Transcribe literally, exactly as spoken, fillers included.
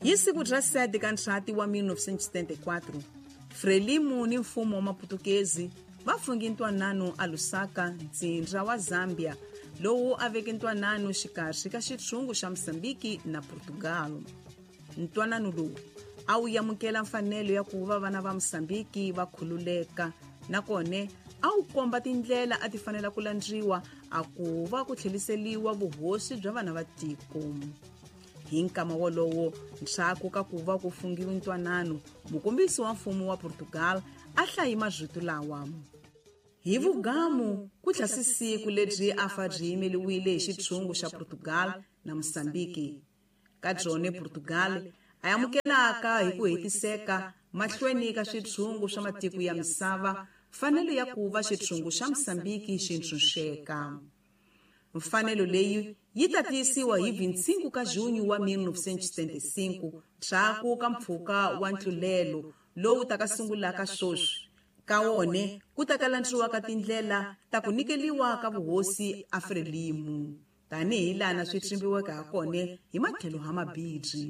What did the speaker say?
Hi siku ra sete ka Ndzhati wa mil novecentos e setenta e quatro, Frelimo ni mfumo wa Maputukezi va fungi ntwanano a Lusaka, ntsindza wa Zambia, lowu a veke ntwanano xikarhi ka xitshungu xa Mozambique na Portugal. Ntwanano lowu a wu amukela mfanelo ya ku va vana va Mozambique va khululeka, nakona a wu komba tindlela a ti fanela ku landziwa a ku va ku tlheriseriwa vuhosi bya vana va tiko. Hi nkama wolowo, ndzhaku ka ku va ku fungiwe ntwanano, mukombisi wa mfumo wa Portugal a hlayi marito lawa: hi vugamu ku tlhasi siku lebyi a fa byi yimeliwile hi xitshungu xa Portugal na Mozambique. Ka byone Portugal a amukelaka hi ku hetiseka mahlweni ka switshungu swa matiko ya misava mfanelo ya ku va xitshungu xa Mozambique xi ntshunxeka. Mfanelo leyi yi ta tiyisiwa hi vinte e cinco ka junho wa mil novecentos e setenta e cinco, ndzhaku ka mpfhuka wa ntlulelo lowu taka sungulaka sweswi. Ka wone ku ta kalandziwa ka tindlela ta ku nyikeliwa ka vuhosi a Frelimo, tanihi laha swi tsimbiweke ha kona hi matlhelo ha mabirhi.